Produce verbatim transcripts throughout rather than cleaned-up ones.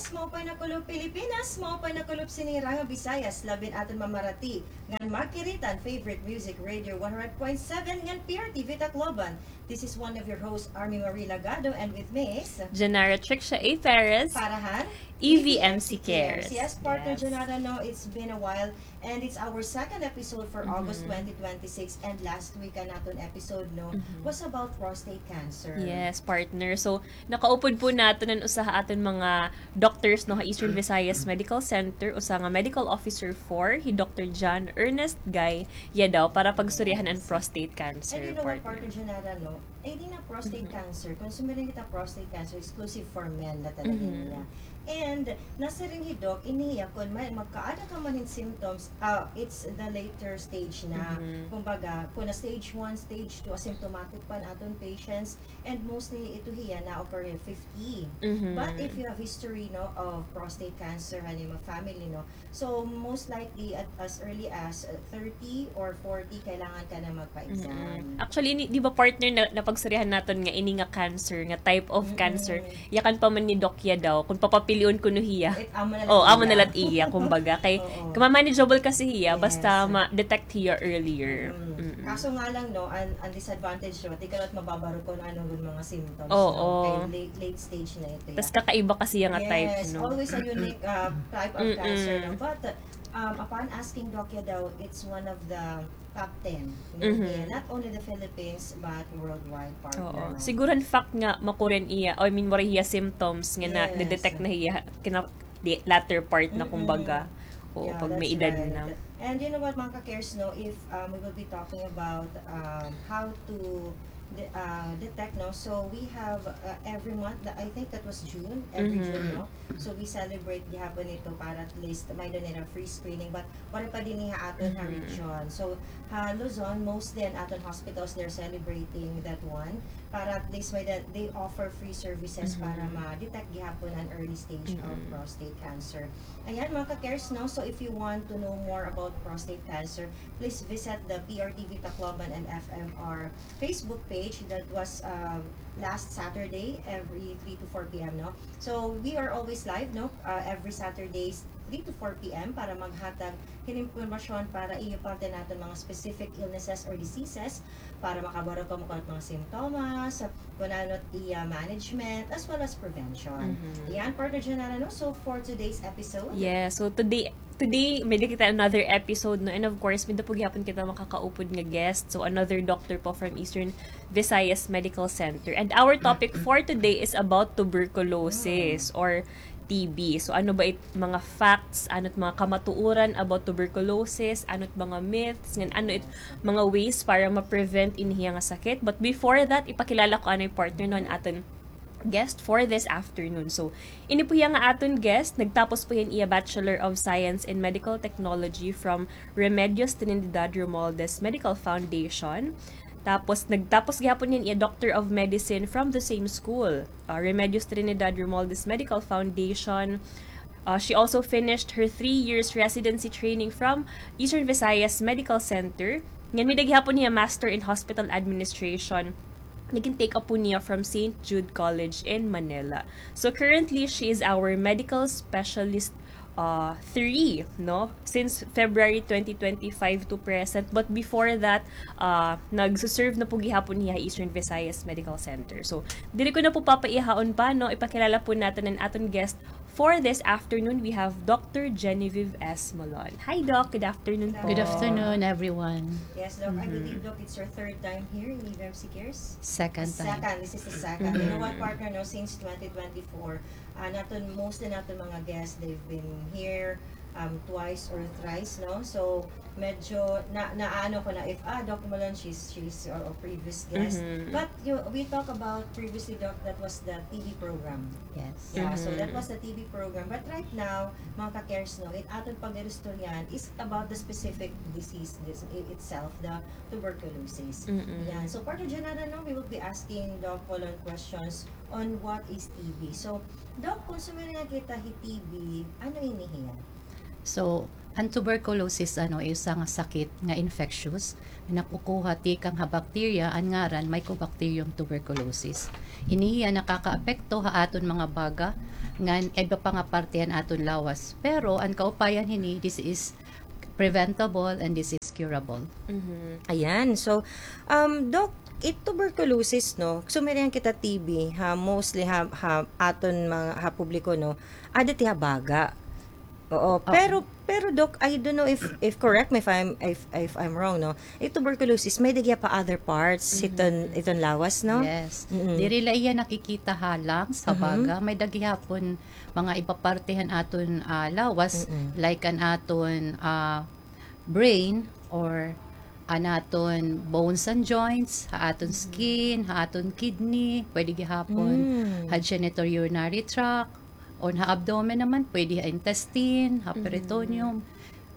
Maupay nga kulop Pilipinas, maupay nga kulop sini nga Visayas, labi na aton mamarati ngan magkirita han favorite music radio one hundred point seven ngan P R T V Tacloban. This is one of your hosts, Army Marie Lagado, and with me is Janara Tricia A. Perez. Para han E V M C Cares. Yes, partner Janara, no, it's been a while. And it's our second episode for August twenty twenty-six, and last week an aton episode, no, was about prostate cancer. Yes, partner. So, nakaupod po naton an usa ha aton mga doctors, no, ha Eastern Visayas Medical Center, usa nga medical officer four, hi Doctor John Ernest Guy Yadaw, para pagsuryahan an prostate cancer, partner. And you know what, partner Janara, no? Ay, di na prostate cancer. Kung sumiring kita prostate cancer, exclusive for men na talaga niya. And nasiring hi Doc, ini hiya, kun may, magkaada ka man hin symptoms, ah, it's the later stage na. Kumbaga, kun na stage one, stage two, asymptomatic pa an aton patients, and mostly ito hiya na-occur hin fifty. But if you have history, no, of prostate cancer, han imo family, no, so, most likely, at as early as, uh, thirty or forty, kailangan ka na magpa-exam. Actually, ni-, di ba, partner, na, napagsuryahan naton nga ini nga cancer, nga type of cancer, yakan pa man ni Doc Yadaw, kun papapilion kuno hiya. Amo na la iya, kumbaga. Kay, manageable kasi hiya, basta ma-detect hiya earlier. Kaso nga lang, no, an, an disadvantage, no, di ka na mababaro kun ano an mga symptoms, no? Kay late, late stage na ito. Tas kakaiba kasi hiya nga type, no? Yes, always a unique, uh, type of cancer, no? But, um, upon asking Doc Yadaw, it's one of the top ten. Not only the Philippines, but worldwide, partner, no? Siguro, in fact, nga makuren hiya, I mean, waray hiya symptoms nga na-detect na hiya, kina-, di, latter part na, kumbaga. Oo, pag may edad na. And you know what, mga ka-cares, no, if, um, we will be talking about, um, how to de-, uh, detect, no? So we have, uh, every month, I think that was June, every June, no? So we celebrate gihapon ito para at least may-ada nira free screening, but waray pa dinhi ha aton ha region. So ha Luzon, mostly an aton hospitals, they're celebrating that one para at least may-ada, they offer free services para ma-detect gihapon an early stage of prostate cancer. Ayan, mga ka-cares, no? So if you want to know more about prostate cancer, please visit the P R T V Tacloban and F M R Facebook page that was, um, last Saturday, every three to four P M, no? So, we are always live, no? Uh, every Saturdays, three to four P M para maghatag hin impormasyon para iyo parte naton mga specific illnesses or diseases para makabaro kamo kun ano mga simptomas, kun ano it iya management, as well as prevention. Ayan, partner Janara, no? So, for today's episode, yeah, so today, today, may-ada kita another episode, no? And of course, may-ada po gihapon kita makakaupod nga guest. So, another doctor po from Eastern Visayas Medical Center. And our topic for today is about tuberculosis or T B. So, ano ba it mga facts, ano it mga kamatuoran about tuberculosis, ano it mga myths, ngan ano it mga ways para ma-prevent ini hiya nga sakit. But before that, ipakilala ko anay, partner, no, an aton guest for this afternoon. So, ini po hiya nga aton guest, nagtapos po hiya hin iya Bachelor of Science in Medical Technology from Remedios Trinidad Romualdez Medical Foundation. Tapos, nagtapos gihapon hiya hin iya Doctor of Medicine from the same school, uh, Remedios Trinidad Romualdez Medical Foundation. Uh, she also finished her three years residency training from Eastern Visayas Medical Center. Ngan may-ada gihapon hiya Master in Hospital Administration. Nagin-take up po niya from Saint Jude College in Manila. So, currently, she is our medical specialist, uh, three, no? Since February twenty twenty-five to present. But before that, uh, nagsuserve na po gihapon hiya ha Eastern Visayas Medical Center. So, diri ko na po papaihaon pa, no? Ipakilala po naton an aton guest for this afternoon. We have Doctor Genevieve S. Molon. Hi, Doc. Good afternoon po. Good afternoon, everyone. Yes, Doc. I believe, Doc, it's your third time here in E V M C Cares? Second time. Second. This is the second. You know what, partner, no? Since twenty twenty-four, ah, naton, most na naton mga guests, they've been here, um, twice or thrice, no? So, medyo na, naano ko na if, ah, Doc Molon, she's, she's our previous guest. But you, we talk about previously, Doc, that was the T B program. Yes. Yeah, so that was the T B program. But right now, mga ka-cares, no, it aton pag-iristoryahan is about the specific disease, this, i-, itself, the tuberculosis. Yan. So, Partner Janara, no, we will be asking Doc Molon questions on what is T B. So, Doc, kung sumiring kita hi T B, ano ini hiya? So, an tuberculosis, ano, usa nga sakit nga infectious nga nakukuha tikang ha bacteria, an ngaran Mycobacterium tuberculosis. Ini hiya nakakaapekto ha aton mga baga ngan iba pa nga parte han aton lawas. Pero an kaupayan hini, this is preventable and this is curable. Mhm. Ayan. So, um, Doc, it tuberculosis, no? Sumirihan kita T B, ha, mostly ha, ha aton mga, ha publiko, no? Ada ti ha baga. Oo, Oo. pero, pero Doc, I don't know if, if correct me if I'm, if, if I'm wrong, no? It tuberculosis, may-ada gihap ha other parts, Mhm. iton, iton lawas, no? Yes. Mm-mm. Diri la iya nakikita ha lungs, ha Mhm. baga. May-ada gihapon mga iba parte han aton, ah, lawas, Mm-mm. like an aton, ah, brain or an aton bones and joints, ha aton Mhm. skin, ha aton kidney, pwede gihapon Mm. ha genitourinary tract, or ha abdomen naman, pwede ha intestine, ha Mhm. peritoneum,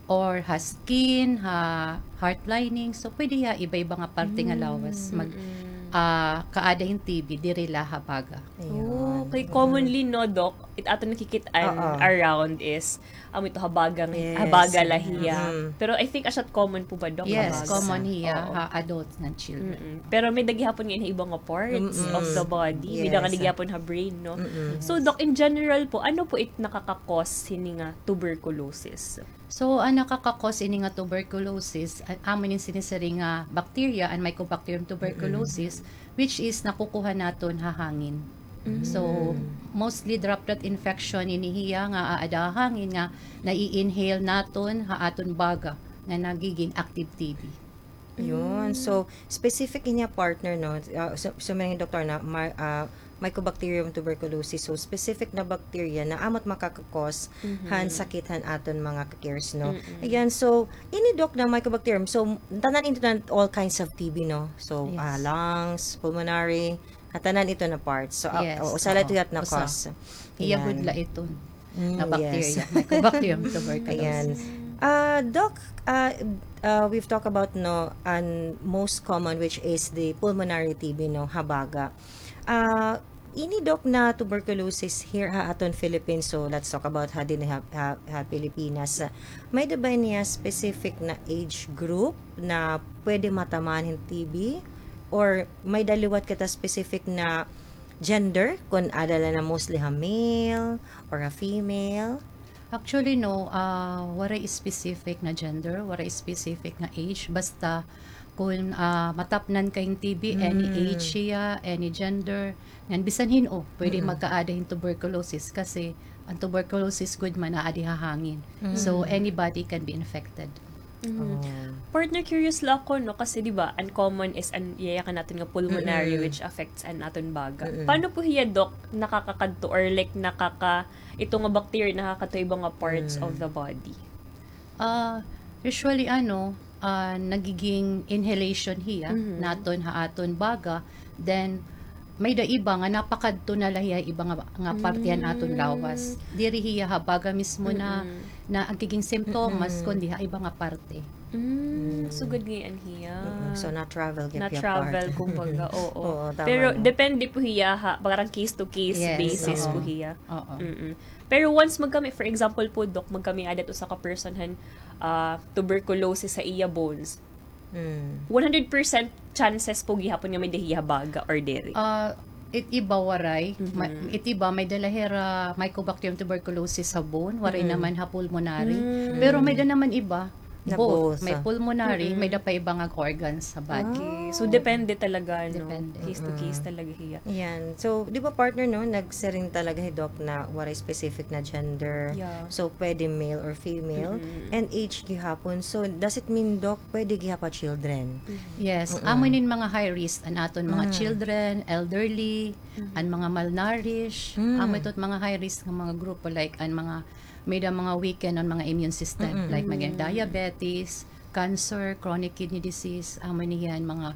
or ha skin, ha heart lining. So, pwede ha iba-iba nga parte nga lawas. Mm. Mag, Mm-mm. ah, kaada hin T B, diri la ha baga. Ayun. Okay, commonly, no, Doc, it aton nakikit-an Oo. around is, amo ito, ha baga, ha Yes. baga la hiya. Mm. Pero I think asya common po ba, Doc, ha Yes, baga? common hiya Oo. ha adults ngan children. Mm-mm. Pero may-ada gihapon nga ha iba nga parts Mm-mm. of the body. May-ada Yes. gihapon ha brain, no? Mm-mm. So, Doc, in general po, ano po it nakaka-cause hini nga tuberculosis? So, an nakaka-cause ini nga tuberculosis, a-, amo inin sinisiring nga bacteria, an Mycobacterium tuberculosis, which is nakukuha naton ha hangin. So, Mm. mostly droplet infection ini hiya nga aada ha hangin nga nai-inhale naton ha aton baga nga nagiging active T B. Yun. So, specific niya, partner, no? Ah, so, so, may doktor na, ma-, ah, Mycobacterium tuberculosis. So, specific na bacteria na amo it makaka-cause han sakit han aton mga ka-cares, no? Mm-mm. Ayan, so, ini, Doc, na Mycobacterium. So, tanan ito na all kinds of T B, no? So, Yes. ah, lungs, pulmonary, at tanan ito na parts. So, ah, Yes, oh, usa la oo. ito nga Usa. cause. Iya Ayan. gud la iton Mm, na bacteria, yes. Mycobacterium tuberculosis. Ayan. Ah, Doc, ah, ah, we've talked about, no, an most common, which is the pulmonary T B, no, ha baga. Ah, ini, Doc, na tuberculosis here ha aton Philippines. So, let's talk about ha dinhi ha, ha, ha Pilipinas. May-ada ba niya specific na age group na pwede matamaan hin T B? Or may-ada liwat kita specific na gender, kun ada la na mostly ha male or ha female? Actually, no, ah, waray specific nga gender, waray specific nga age. Basta kun, ah, matapnan ka hin T B, any age hiya, any gender, ngan bisan hin-o, pwede magkaada hin tuberculosis kasi an tuberculosis gud man aadi ha hangin. So, anybody can be infected. Mhm. Partner, curious la ako, no, kasi, di ba, an common is an yayakan naton nga pulmonary, which affects an aton baga. Paano po hiya, Doc, nakakakadto or, like, nakaka-, ito nga bacteria nakakadto iba nga parts of the body? Ah, usually, ano, ah, nagiging inhalation hiya naton ha aton baga, then may-ada iba nga napakadto na la hiya iba nga, nga parte han aton lawas. Diri hiya ha baga mismo na, na nagiging simptomas, kundi ha iba nga parte. Mm, sugad ngay-an hiya. Mm, so, na-travel gihap hiya, Na-travel, part. Kumbaga, oo. Oo, tama, Pero no? Depende po hiya ha, parang case to case Yes, basis oo. Po hiya. Oo. Mm-mm. Pero once magkami, for example po, Doc, magkami-ada it usa ka person han, ah, tuberculosis ha iya bones, Mm. one hundred percent chances po gihapon nga may-ada hiya ha baga or diri? Ah, it iba waray. Ma-, it iba may-ada la hira Mycobacterium tuberculosis ha bone, waray naman ha pulmonary. Pero may-ada naman iba, Na both. both, May ah. Pulmonary, may-ada pa iba nga organs sa body. Okay. So, depende talaga, no? Depende. Case to case talaga hiya. Yan. So, di ba, partner, no, nagsiring talaga hi Doc na waray specific na gender. Yeah. So, pwede male or female. And age gihapon. So, does it mean, Doc, pwede gihap ha children? Yes, amo inin mga high risk, an aton mga children, elderly, an mga malnourished, amo ito it mga high risk nga mga grupo, like an mga may-ada mga weaken an mga immune system, like mga diabetes, cancer, chronic kidney disease, amo ini hiya an mga,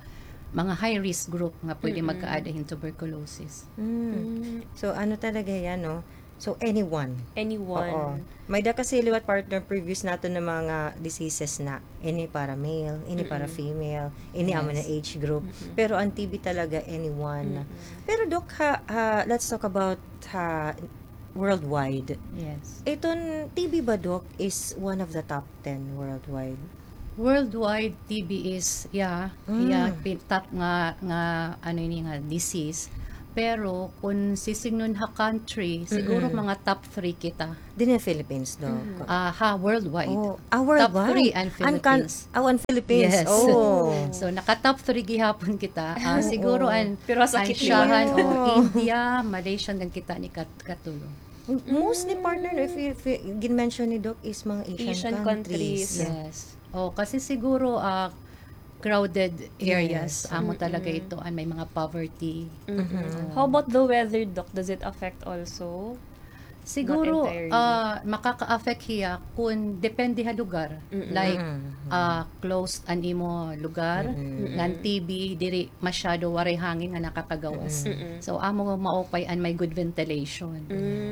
mga high risk group nga pwede magkaada hin tuberculosis. Mm. So, ano talaga yan, no? So, anyone. Anyone. Oo. May-ada kasi liwat, partner, previous naton na mga diseases na. Ini para male, ini para female, ini amo na Yes. age group. Pero an T B talaga, anyone. Pero, Doc, ha, ha, let's talk about ha, worldwide. Yes. Iton T B ba, Doc, is one of the top ten worldwide? Worldwide, T B is, yeah, yeah, pin-, top nga, nga, ano ini nga disease. Pero kun sisidngon ha country, siguro mga top three kita. Dinhi ha Philippines, Doc? Ah, ha, worldwide. Oh, ah, worldwide? Top three an Philippines. Aw, an Philippines. Yes. Oh. So, naka top three gihapon kita. Ah, siguro an, pero an sakit niya. Asiahan, oh, India, Malaysia, ngan kita ini kat-, katulo. Mostly, partner, no, if you, if you, gin-mention ni Doc is mga Asian countries. Asian countries. Yes. Oh, kasi siguro, ah, crowded areas, amo talaga ito, an may mga poverty. How about the weather, Doc? Does it affect also? Siguro, ah, makaka-affect hiya kun depende ha lugar. Like, ah, closed an imo lugar, ngan T B, diri masyado, waray hangin nga nakakagawas. So, amo maupay an may good ventilation.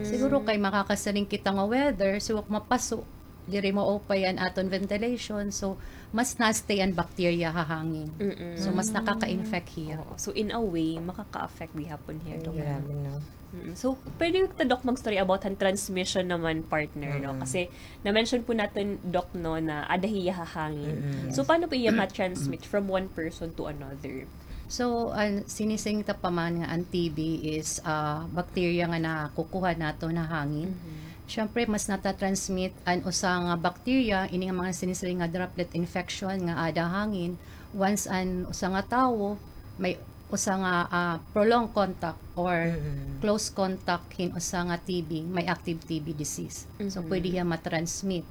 Siguro kay makakasiring kita nga weather, so, mapaso, diri maupay an aton ventilation. So, mas na-stay an bacteria ha hangin. So, mas nakaka-infect hiya. Oo. So, in a way, makaka-affect gihapon hiya, Doc. Grabe, no? Mm. So, pwede ta, Doc, mag-story about han transmission naman, partner, no? Kasi na-mention po natin, Doc, no, na ada hiya ha hangin. So, paano po iya ma-transmit from one person to another? So, an sinising ta pa man nga an T B is, ah, bacteria nga nakukuha naton ha hangin. Siyempre, mas nata-transmit an usa nga bacteria, ini nga mga sinisiring nga droplet infection nga ada ha hangin, once an usa nga tawo may usa nga, ah, prolonged contact or close contact hin usa nga T B, may active T B disease. So, pwede hiya ma-transmit.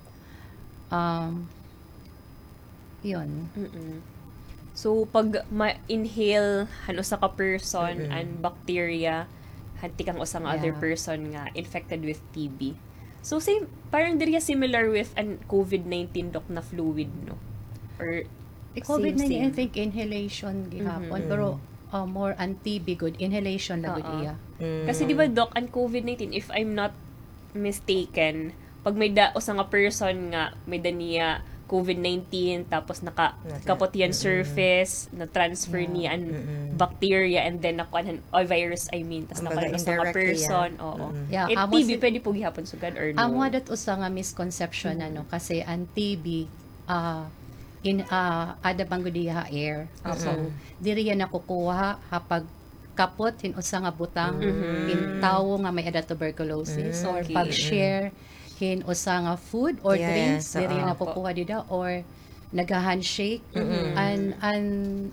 Um, Yun. So, pag ma-inhale han usa ka person an bacteria han tikang usa nga other person nga infected with T B. So, same, parang diri hiya similar with an COVID nineteen, Doc, na fluid, no? Or COVID nineteen, same, same? I think inhalation gihapon, pero, uh, more an T B gud, inhalation la gud iya. Kasi di ba, Doc, an COVID nineteen, if I'm not mistaken, pag may-ada usa nga person nga may-ada niya COVID nineteen, tapos nakakapot hiya han surface, na-transfer niya an bacteria, and then nakuan han, o virus, I mean, tas nakuan han usa nga person, oo. It T B, pwede po gihapon sugad or no? Amo adat usa nga misconception, ano, kasi an T B, ah, in, ah, ada man gud hiya ha air. So, diri hiya nakukuha ha pag kapot hin usa nga butang hin tawo nga may-ada tuberculosis, or pag-share hin usa nga food or drinks, diri nakukuha dida, or nagha-handshake. An, an,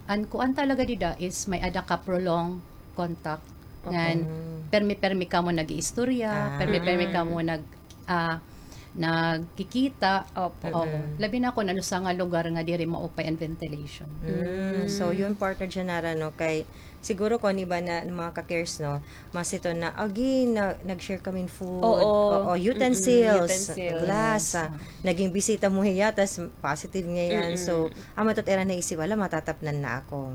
an kuan talaga dida is may-ada ka prolonged contact. Ngan, permi-permi kamo nag-iistorya, permi-permi kamo nag- ah, nagkikita. Opo. Oo. Labi na kon an usa nga lugar nga diri maupay an ventilation. Mm. So, yun, partner Janara, no, kay siguro kon iba na mga ka-cares, no, mas ito na, agi, na, nag-share kami food. Oo. Oo, utensils, utensils, glass, ah, naging bisita mo hiya, tas positive ngay-an. So, amo ito ira naisip, hala, matatapnan na ako.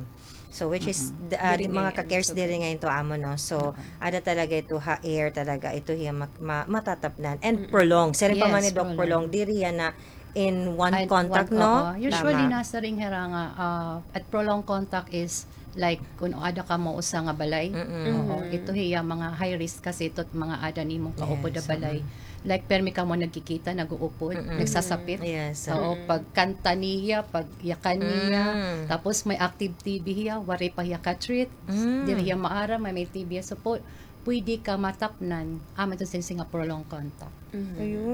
So, which is, the, ah, mga ka-cares diri ngay-an ito amo, no? So, ada talaga ito ha air talaga. Ito hiya ma-, ma-, matatapnan. And prolonged. Siring pa man ni Doc, prolonged. Diri hiya na in one contact, no? Usually, nasiring hira nga, ah, at prolonged contact is like, kun ada kamo usa nga balay. Oo, ito hiya mga high risk kasi ito mga ada nimong kaupod ha balay. Like, permi kamo nagkikita, nag-uupod, nagsasapit. Yes. Oo, pagkanta niya, pagyakan niya, tapos may active T B hiya, waray pa hiya ka-treat, diri hiya maaram, may, may T B hiya. So, pu-, pwede ka matapnan, amo ito siring nga prolonged contact.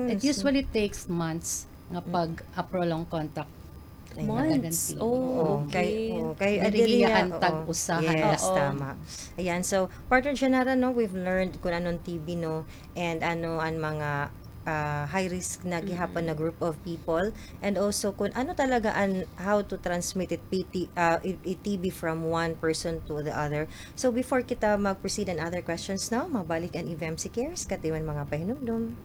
It usually takes months nga pag, ah, prolonged contact. Months. Oh, okay. Diri hiya an tag-usa. Yes, tama. Ayan, so, partner Janara, no, we've learned kun ano an T B, no, and ano an mga, ah, high risk na gihapon na group of people, and also kun ano talaga an, how to transmit it, P T, ah, i-, i-T B from one person to the other. So, before kita mag-proceed an other questions, no, mabalik an F M C Cares, katiman mga pahinumdom.